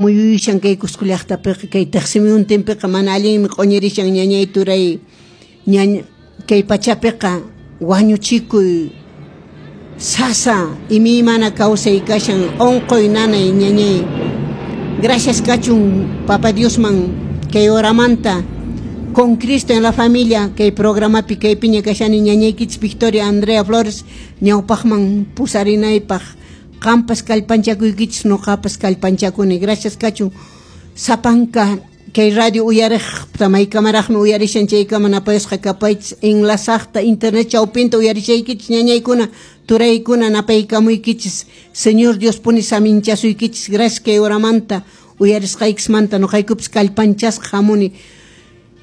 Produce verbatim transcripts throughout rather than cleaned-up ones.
Muyuyushan kay Cusco llaqtapiqa, kay tiqsimuyuntinpiqa mana allinmi q'uñirishan, ñañay, turay. Ñañ kay pachapiqa wañuchikuy, sasa imaymana kawsay kashan, unquy, nanay, ñañay. Gracias kachun Papa Diosman kay horamanta Con Cristo en la Familia kay programapi kaypiña kashani, ñañaykichis Victoria Andrea Flores, ñawpaqman pusarinaypaq qampas kallpanchakuykichis, nuqapas kallpanchakuni. Gracias kachun sapanka kay radio uyariq maykamaraqmi uyarishan chaykama napayasqa kapaychis, enlazaqta internet chawpinta uyarishaykichis, ñañaykuna, turaykuna, napaykamuykichis. Señor Dios puni saminchasuykichis. Gracias kay horamanta uyarisqaykismanta. Nuqaykupis kallpanchasqa hamuni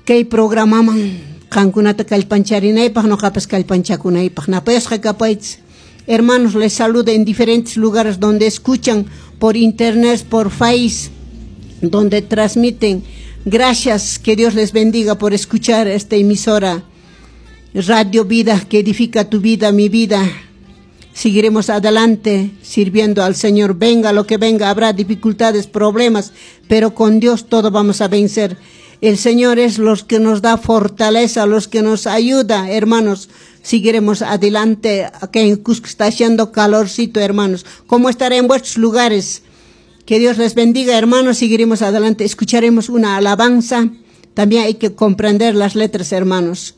kay programaman qankunata kallpancharinaypaq, nuqapas kallpanchakunaypaq. Napayasqa kapaychis. Hermanos, les saludo en diferentes lugares donde escuchan por internet, por Face, donde transmiten. Gracias, que Dios les bendiga por escuchar esta emisora Radio Vida, que edifica tu vida, mi vida. Seguiremos adelante sirviendo al Señor. Venga lo que venga, habrá dificultades, problemas, pero con Dios todo vamos a vencer. El Señor es los que nos da fortaleza, los que nos ayuda, hermanos. Seguiremos adelante. Acá en Cusco está haciendo calorcito, hermanos. ¿Cómo estará en vuestros lugares? Que Dios les bendiga, hermanos. Seguiremos adelante. Escucharemos una alabanza. También hay que comprender las letras, hermanos.